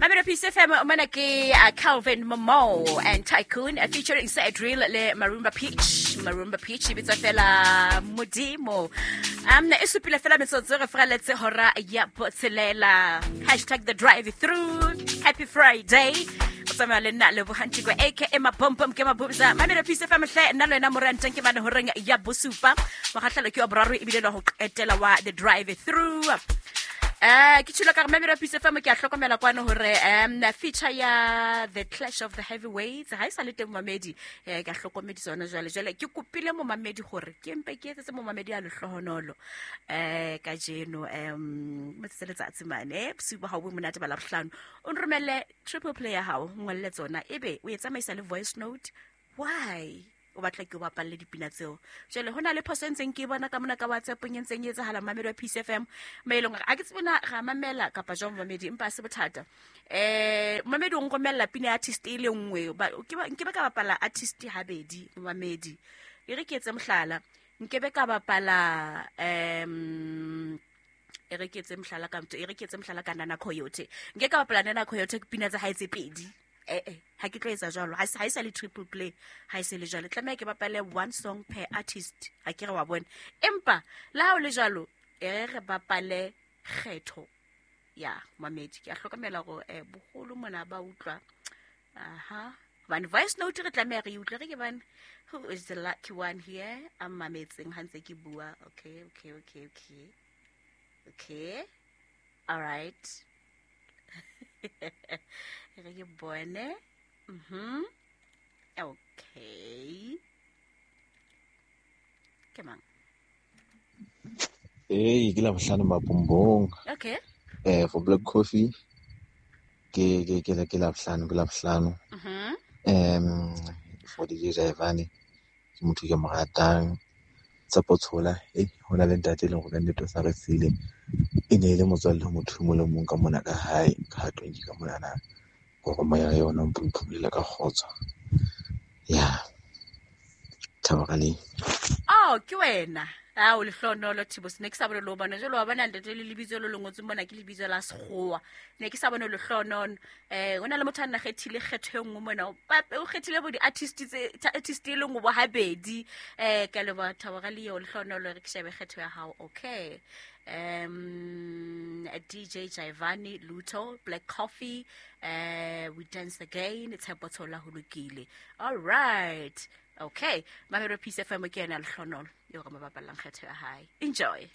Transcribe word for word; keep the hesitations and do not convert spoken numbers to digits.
Mamelo Peace F M mona ke uh, Calvin Momo and Tycoon uh, featuring Cedril le Marumba Peach. Marumba Peach e bitswa fela Modimo. Um e supile fela metsotso re fraletse hora ya botshelela. Hashtag the drive through. Happy Friday. O tsamaya le nna Lebohang Tiko aka Mapompom ke Mabubza. Mamelo Peace F M hle nna le wena moranteng ke mane horeng ya bosupa. Mokgahlelo ke wa boraro ebile le ho qetela wa the drive through. Eh ke tshilo ka re Mamelo Peace F M ke a hlokomela kwana hore um feature ya The Clash of the Heavyweights ha e sa le teng mamedi eh ke a hlokomedisa yona jwale jwale ke kopile momamedi hore ke mpe ke etsetse momamedi a lehlohonolo eh kajeno um motse letsatsi mane bosiu ba hao bo monate ba Labohlano o nromelle triple play ya hao ngolle tsona ebe o e tsamaisa le voice note why o batla ke o bapalle dipina tseo jwale hona le phoso e ntseng ke bona ka mona ka WhatsApp e ntseng e etsahala Mamelo ya Peace F M maelong a ke tsebe na ra mamela kapa jwang mamedi empa se bothata eh mamedi o nromella pina ya artist e le nngwe ke ba nke ba ka bapala artist habedi mamedi e re ke etse mohlala nke be ka bapala em e re ke etse mohlala ka motho e re ke etse mohlala ka Nana Coyote nke ka bapala Nana Coyote ke pina tsa hae tse pedi eh eh ha ke tlo etsa jwalo ha ha e sa le triple play ha e se le jwalo tlameha ke bapale one song per artist ha ke re wa bona empa la ha o le jwalo e re bapale kgetho ya mamedi ke a hlokomela hore eh boholo mona ba utlwa aha hobane voice note re tlameha re utlwe re ke bane who is the lucky one here a mametseng ha ntse ke bua okay okay okay okay okay all right re ke bone mhm okay ke mang eh ke la bohlano mapombong okay eh for Black Coffee ke ke ke ke la bohlano ke la bohlano mhm em for D J Jaivane ke motho ke mo ratang Tshepo Tshola eh hona le ntate le hore nnete o sa re sile e ne e le motswalle ho motho mo le mong ka mona ka hae ka twenty ka mona na gore moya yona o mphulela ka kgotso ya thabarale oh ke wena a o lehlonolo Thibo ne ke sa bone lo bona jalo wa bona ntate le lebitso le lengotswe mona ke lebitso la sekgowa ne ke sa bone lehlonono eh hona le motho a nna kgethile kgetho e nngwe mona o pape o kgethile bo di-artist tse artist e le nngwe bo habedi eh ka leboha Thabarale eo lehlonolo re ke shebe kgetho ya hao okay um D J Jaivane Luto Black Coffee uh we dance again Tshepo Tshola ho lokile all right okay Mamelo Peace F M ke yena lehlonolo yo re mo bapallang kgetho ya hae enjoy.